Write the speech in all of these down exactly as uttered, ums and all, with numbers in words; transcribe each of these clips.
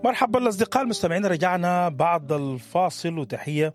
مرحبا الأصدقاء المستمعين، رجعنا بعد الفاصل وتحية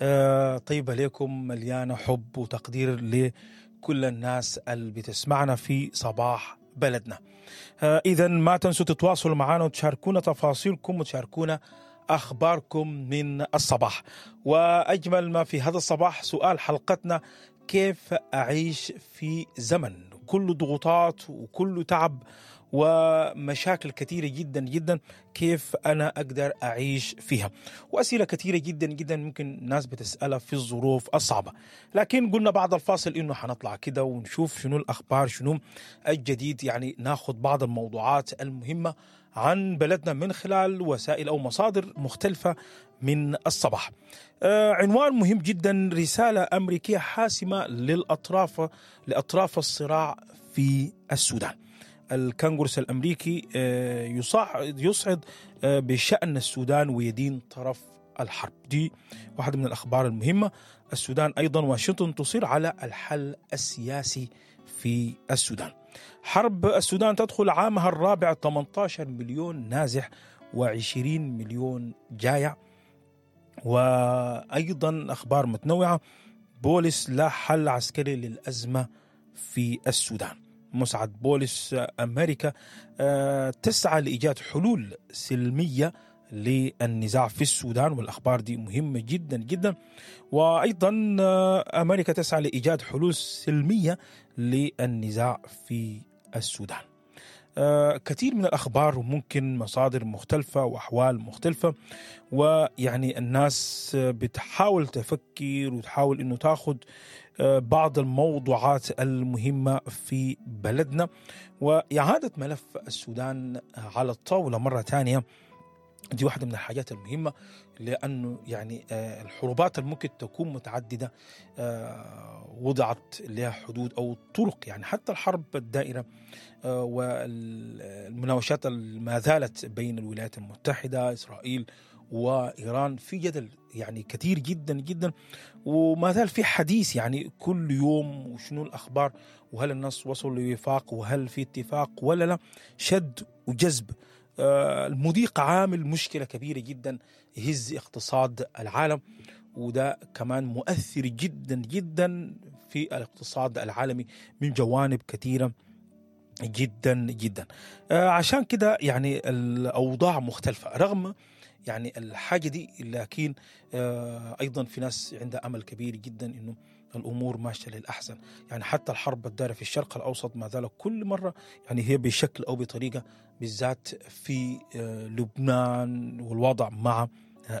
آه، طيبة لكم مليانة حب وتقدير لكل الناس اللي بتسمعنا في صباح بلدنا. إذا ما تنسوا تتواصلوا معنا وتشاركونا تفاصيلكم وتشاركونا أخباركم من الصباح. وأجمل ما في هذا الصباح سؤال حلقتنا: كيف أعيش في زمن كله ضغوطات وكله تعب ومشاكل كثيرة جدا جدا؟ كيف أنا أقدر أعيش فيها؟ وأسئلة كثيرة جدا جدا ممكن الناس بتسألها في الظروف الصعبة. لكن قلنا بعد الفاصل إنه حنطلع كده ونشوف شنو الأخبار، شنو الجديد، يعني ناخذ بعض الموضوعات المهمة عن بلدنا من خلال وسائل أو مصادر مختلفة من الصباح. آه عنوان مهم جدا: رسالة أمريكية حاسمة للأطراف لأطراف الصراع في السودان. الكونغرس الأمريكي آه يصعد, يصعد آه بشأن السودان ويدين طرف الحرب. دي واحدة من الأخبار المهمة. السودان أيضا واشنطن تصر على الحل السياسي في السودان. حرب السودان تدخل عامها الرابع، ثمانية عشر مليون نازح وعشرين مليون جايع. وأيضا أخبار متنوعة: بولس لا حل عسكري للأزمة في السودان. مسعد بولس: أمريكا تسعى لإيجاد حلول سلمية للنزاع في السودان، والأخبار دي مهمة جدا جدا. وأيضا أمريكا تسعى لإيجاد حلول سلمية للنزاع في السودان. كثير من الأخبار وممكن مصادر مختلفة وأحوال مختلفة، ويعني الناس بتحاول تفكر وتحاول إنه تاخد بعض الموضوعات المهمة في بلدنا. وإعادة ملف السودان على الطاولة مرة تانية دي واحدة من الحاجات المهمة، لأنه يعني الحروبات اللي ممكن تكون متعددة وضعت لها حدود أو طرق، يعني حتى الحرب الدائرة والمناوشات ما زالت بين الولايات المتحدة إسرائيل وإيران في جدل يعني كثير جدا جدا، وما زال في حديث يعني كل يوم وشنو الأخبار، وهل الناس وصلوا لوفاق وهل في اتفاق ولا لا. شد وجذب. المضيق عامل مشكلة كبيرة جدا يهز اقتصاد العالم، وده كمان مؤثر جدا جدا في الاقتصاد العالمي من جوانب كثيرة جدا جدا. عشان كده يعني الأوضاع مختلفة رغم يعني الحاجة دي، لكن أيضا في ناس عندها أمل كبير جدا إنه الأمور ماشية للأحسن. يعني حتى الحرب الدائرة في الشرق الأوسط ما زالت كل مرة يعني هي بشكل أو بطريقة، بالذات في لبنان والوضع مع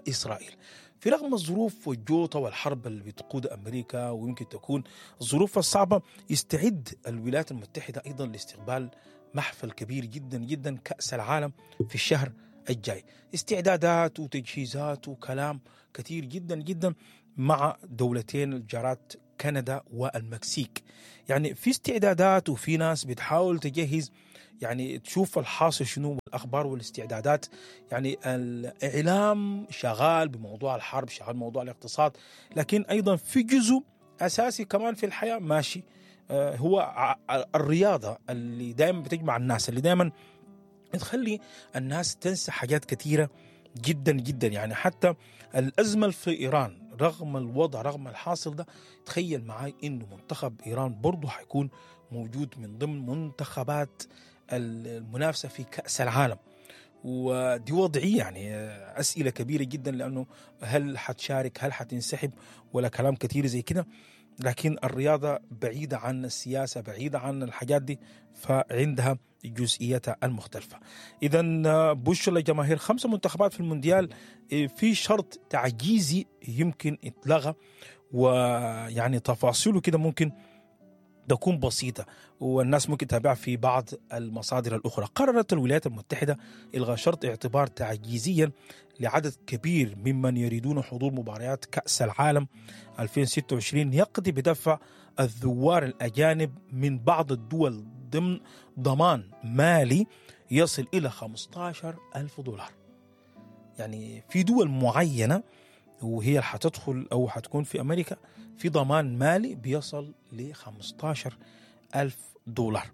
إسرائيل، في رغم الظروف والجوطة والحرب اللي بتقود أمريكا ويمكن تكون الظروف الصعبة، يستعد الولايات المتحدة أيضا لاستقبال محفل كبير جدا جدا كأس العالم في الشهر الجاي. استعدادات وتجهيزات وكلام كثير جدا جدا مع دولتين الجارات كندا والمكسيك. يعني في استعدادات وفي ناس بتحاول تجهز، يعني تشوف الحاصل شنو والأخبار والاستعدادات. يعني الإعلام شغال بموضوع الحرب، شغال بموضوع الاقتصاد، لكن أيضا في جزء أساسي كمان في الحياة ماشي، هو الرياضة اللي دائما بتجمع الناس، اللي دائما تخلي الناس تنسى حاجات كثيرة جدا جدا. يعني حتى الأزمة في إيران رغم الوضع رغم الحاصل ده، تخيل معي إنه منتخب إيران برضو حيكون موجود من ضمن منتخبات المنافسة في كأس العالم. ودي وضعية يعني أسئلة كبيرة جدا، لأنه هل حتشارك هل حتنسحب ولا كلام كثير زي كده. لكن الرياضة بعيدة عن السياسة، بعيدة عن الحاجات دي، فعندها جزئيتها المختلفة. إذن بوش للجماهير خمسة منتخبات في المونديال في شرط تعجيزي يمكن اتلغى، ويعني تفاصيله كده ممكن تكون بسيطة والناس ممكن تتابع في بعض المصادر الأخرى. قررت الولايات المتحدة إلغاء شرط اعتبار تعجيزيا لعدد كبير ممن يريدون حضور مباريات كأس العالم ألفين وستة وعشرين يقضي بدفع الزوار الأجانب من بعض الدول ضمن ضمان مالي يصل إلى خمسة عشر ألف دولار. يعني في دول معينة وهي اللي حتدخل أو حتكون في أمريكا في ضمان مالي بيصل ل خمسة عشر ألف دولار.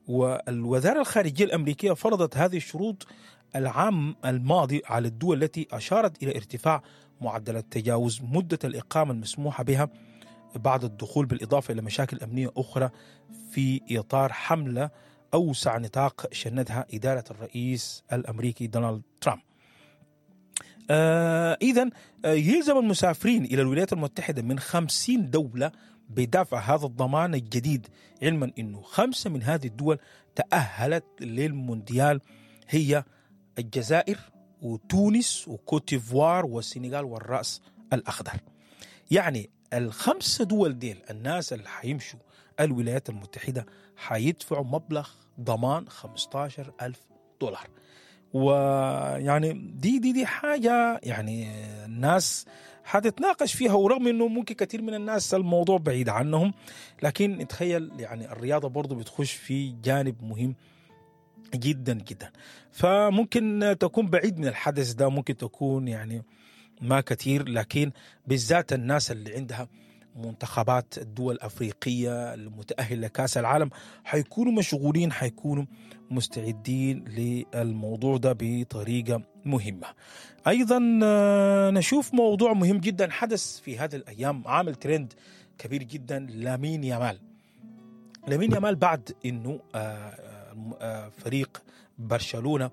والوزارة الخارجية الأمريكية فرضت هذه الشروط العام الماضي على الدول التي أشارت إلى ارتفاع معدلات تجاوز مدة الإقامة المسموحة بها بعد الدخول، بالإضافة إلى مشاكل أمنية أخرى في إطار حملة أوسع نطاق شنتها إدارة الرئيس الأمريكي دونالد ترامب. آه إذن يلزم المسافرين إلى الولايات المتحدة من خمسين دولة بدفع هذا الضمان الجديد، علما أنه خمسة من هذه الدول تأهلت للمونديال، هي الجزائر وتونس وكوتيفوار والسنغال والرأس الأخضر. يعني الخمسة دول ديل الناس اللي حيمشوا الولايات المتحدة حيدفعوا مبلغ ضمان خمستاشر ألف دولار. ويعني دي دي دي حاجة يعني الناس حتتناقش فيها، ورغم انه ممكن كثير من الناس الموضوع بعيد عنهم، لكن تخيل يعني الرياضة برضو بتخش في جانب مهم جدا جدا. فممكن تكون بعيد من الحدث ده، ممكن تكون يعني ما كثير، لكن بالذات الناس اللي عندها منتخبات الدول الأفريقية المتأهلة لكأس العالم حيكونوا مشغولين، حيكونوا مستعدين للموضوع ده بطريقة مهمة. أيضا نشوف موضوع مهم جدا حدث في هذه الأيام، عامل ترند كبير جدا، لامين يامال. لامين يامال بعد أنه فريق برشلونة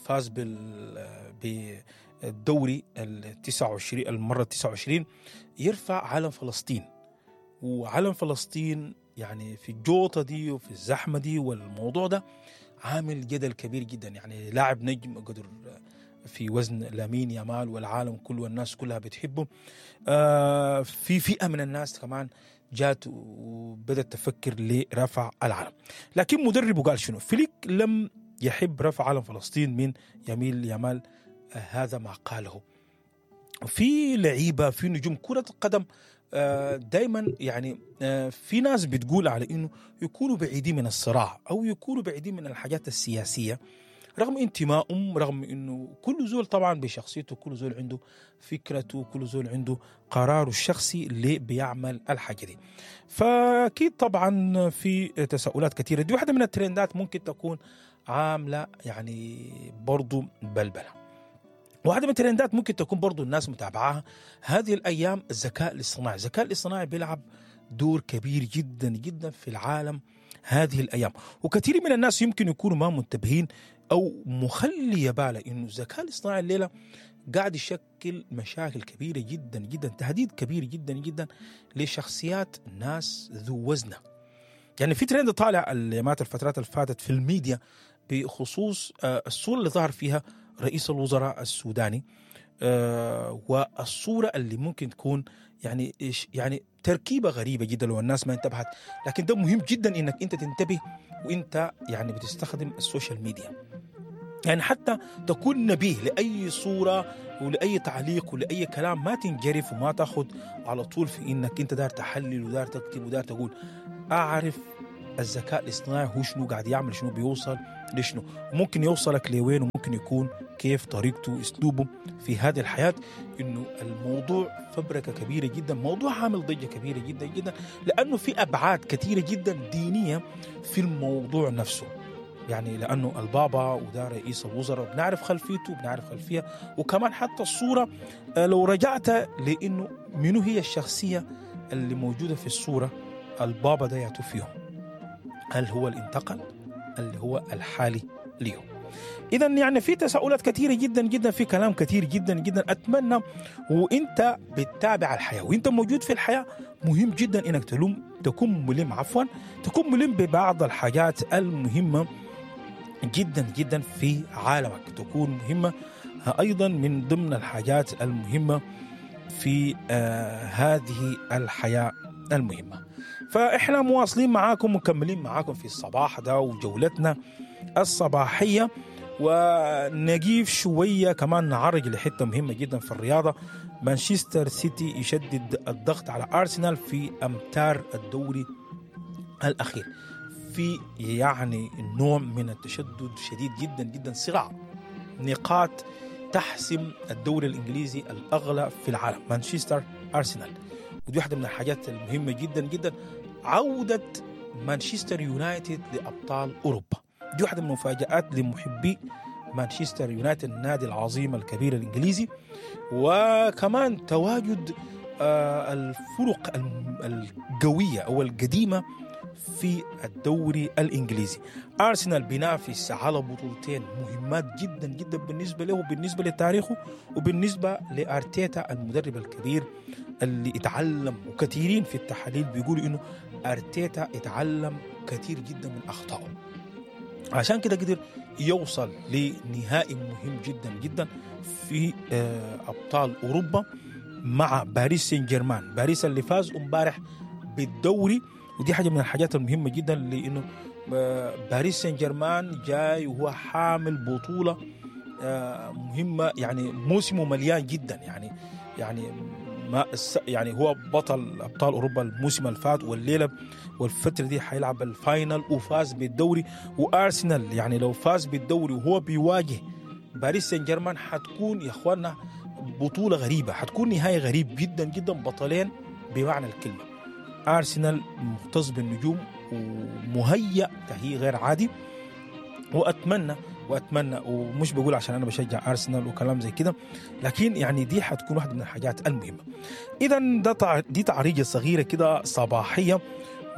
فاز بال بالدوري التسعة وعشرين المرة التسعة وعشرين، يرفع علم فلسطين. وعلم فلسطين يعني في الجوطة دي وفي الزحمة دي والموضوع ده عامل جدل كبير جدا. يعني لاعب نجم قدر في وزن لامين يامال والعالم كله والناس كلها بتحبه. آه في فئة من الناس كمان جات وبدأت تفكر لرفع العلم، لكن مدربه قال شنو؟ فليك لم يحب رفع علم فلسطين من يميل يامال، آه هذا ما قاله. في لعيبة في نجوم كرة القدم دايما يعني في ناس بتقول على انه يكونوا بعيدين من الصراع او يكونوا بعيدين من الحاجات السياسية، رغم انتمائهم، رغم انه كل زول طبعا بشخصيته، كل زول عنده فكرته، كل زول عنده قراره الشخصي اللي بيعمل الحاجة دي. فاكيد طبعا في تساؤلات كثيرة، دي واحدة من الترندات ممكن تكون عاملة يعني برضو بلبلة. واحدة من الترندات ممكن تكون برضو الناس متابعاها هذه الأيام، الذكاء الاصطناعي. الذكاء الاصطناعي بيلعب دور كبير جدا جدا في العالم هذه الأيام، وكثير من الناس يمكن يكونوا ما منتبهين أو مخلي باله إنه الذكاء الاصطناعي الليلة قاعد يشكل مشاكل كبيرة جدا جدا، تهديد كبير جدا جدا لشخصيات ناس ذو وزنة. يعني في ترند طالع اليومات الفترات اللي فاتت في الميديا بخصوص الصورة اللي ظهر فيها رئيس الوزراء السوداني، آه والصورة اللي ممكن تكون يعني يعني تركيبة غريبة جدا لو الناس ما انتبهت، لكن ده مهم جدا انك انت تنتبه وانت يعني بتستخدم ال social media، يعني حتى تكون نبيه لأي صورة ولأي تعليق ولأي كلام، ما تنجرف وما تاخد على طول في انك انت دار تحلل ودار تكتب ودار تقول. اعرف الذكاء الاصطناعي هو شنو قاعد يعمل، شنو بيوصل لشنو، ممكن يوصلك لوين، وممكن يكون كيف طريقته اسلوبه في هذه الحياة. انه الموضوع فبركة كبيرة جدا، موضوع عامل ضجة كبيرة جدا جدا، لانه في ابعاد كثيرة جدا دينية في الموضوع نفسه. يعني لانه البابا وده رئيس الوزراء بنعرف خلفيته، بنعرف خلفية، وكمان حتى الصورة لو رجعت لانه منو هي الشخصية اللي موجودة في الصورة، البابا ده يعتو فيهم، هل هو اللي انتقل اللي هو الحالي اليوم؟ إذا يعني في تساؤلات كثيرة جدا جدا، في كلام كثير جدا جدا. أتمنى وإنت بتتابع الحياة وإنت موجود في الحياة، مهم جدا إنك تلوم تكون ملم عفوا تكون ملم ببعض الحاجات المهمة جدا جدا في عالمك، تكون مهمة أيضا من ضمن الحاجات المهمة في آه هذه الحياة المهمة. فإحنا مواصلين معاكم مكملين معاكم في الصباح ده وجولتنا الصباحية، ونجيب شوية كمان نعرج لحتة مهمة جدا في الرياضة. مانشستر سيتي يشدد الضغط على أرسنال في أمتار الدوري الأخير، في يعني نوع من التشدد شديد جدا جدا، صراع نقاط تحسم الدوري الإنجليزي الأغلى في العالم، مانشستر أرسنال. ودي واحدة من الحاجات المهمة جدا جدا، عودة مانشستر يونايتد لأبطال أوروبا، دي واحدة من المفاجآت لمحبي مانشستر يونايتد النادي العظيم الكبير الإنجليزي، وكمان تواجد الفرق القوية أو القديمة في الدوري الإنجليزي. أرسنال بينافس على بطولتين مهمات جدا جدا بالنسبة له وبالنسبة لتاريخه وبالنسبة لأرتيتا المدرب الكبير اللي اتعلم، وكثيرين في التحاليل بيقولوا إنه أرتيتا اتعلم كثير جدا من أخطائه، عشان كده قدر يوصل لنهائي مهم جدا جدا في أبطال أوروبا مع باريس سان جيرمان. باريس اللي فاز امبارح بالدوري، ودي حاجة من الحاجات المهمة جدا، لأنه باريس سان جيرمان جاي وهو حامل بطولة مهمة، يعني موسمه مليان جدا، يعني يعني ما يعني هو بطل أبطال أوروبا الموسم الفات، والليلة والفترة دي حيلعب ال final وفاز بالدوري. وأرسنال يعني لو فاز بالدوري وهو بيواجه باريس سان جيرمان حتكون يا إخواننا بطولة غريبة، حتكون نهاية غريب جدا جدا، بطلين بمعنى الكلمة. أرسنال مختص بالنجوم ومهيأ تهيئ غير عادي، وأتمنى وأتمنى ومش بقول عشان أنا بشجع أرسنال وكلام زي كده، لكن يعني دي حتكون واحدة من الحاجات المهمة. إذن ده دي تعريجة صغيرة كده صباحية.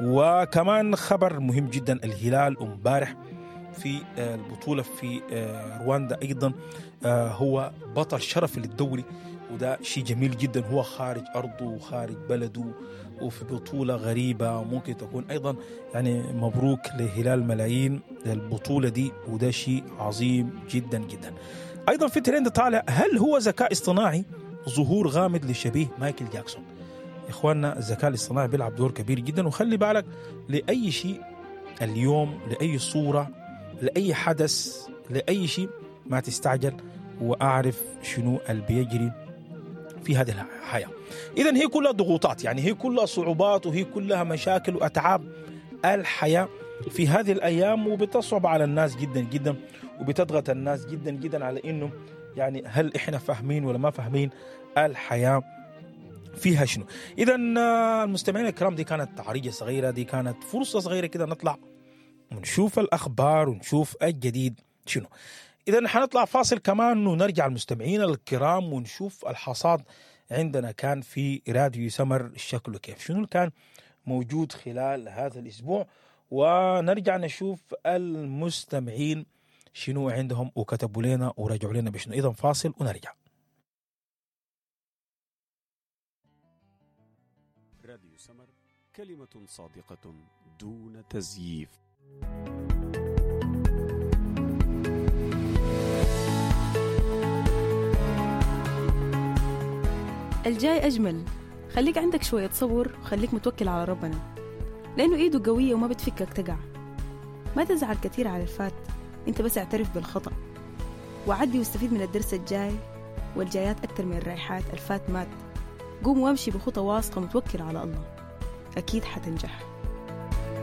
وكمان خبر مهم جدا، الهلال امبارح في البطولة في رواندا أيضا هو بطل شرفي للدوري، وده شيء جميل جدا. هو خارج أرضه وخارج بلده وفي بطولة غريبة، وممكن تكون أيضا يعني مبروك لهلال ملايين البطولة دي، وده شيء عظيم جدا جدا. أيضا في ترند طالع، هل هو ذكاء اصطناعي؟ ظهور غامض لشبيه مايكل جاكسون. إخواننا الذكاء الاصطناعي بيلعب دور كبير جدا، وخلي بالك لأي شيء اليوم، لأي صورة، لأي حدث، لأي شيء ما تستعجل، وأعرف شنو اللي بيجري في هذه الحياة. إذن هي كلها ضغوطات، يعني هي كلها صعوبات، وهي كلها مشاكل وأتعاب الحياة في هذه الأيام، وبتصعب على الناس جدا جدا، وبتضغط الناس جدا جدا على إنه يعني هل إحنا فاهمين ولا ما فاهمين الحياة فيها شنو. إذن المستمعين الكرام، دي كانت تعريجة صغيرة، دي كانت فرصة صغيرة كده نطلع ونشوف الأخبار ونشوف الجديد شنو. إذن حنطلع فاصل كمان ونرجع المستمعين الكرام ونشوف الحصاد عندنا كان في راديو سمر شكله كيف، شنو كان موجود خلال هذا الأسبوع، ونرجع نشوف المستمعين شنو عندهم وكتبوا لنا ورجعوا لنا بشنو. إذن فاصل ونرجع. راديو سمر، كلمة صادقة دون تزييف. الجاي أجمل، خليك عندك شوية صبر وخليك متوكل على ربنا، لأنه إيده قوية وما بتفكك تقع. ما تزعل كثير على الفات، أنت بس اعترف بالخطأ وعدي واستفيد من الدرس الجاي والجايات أكتر من الرايحات. الفات مات، قوم وامشي بخطى واثقة متوكل على الله، أكيد حتنجح.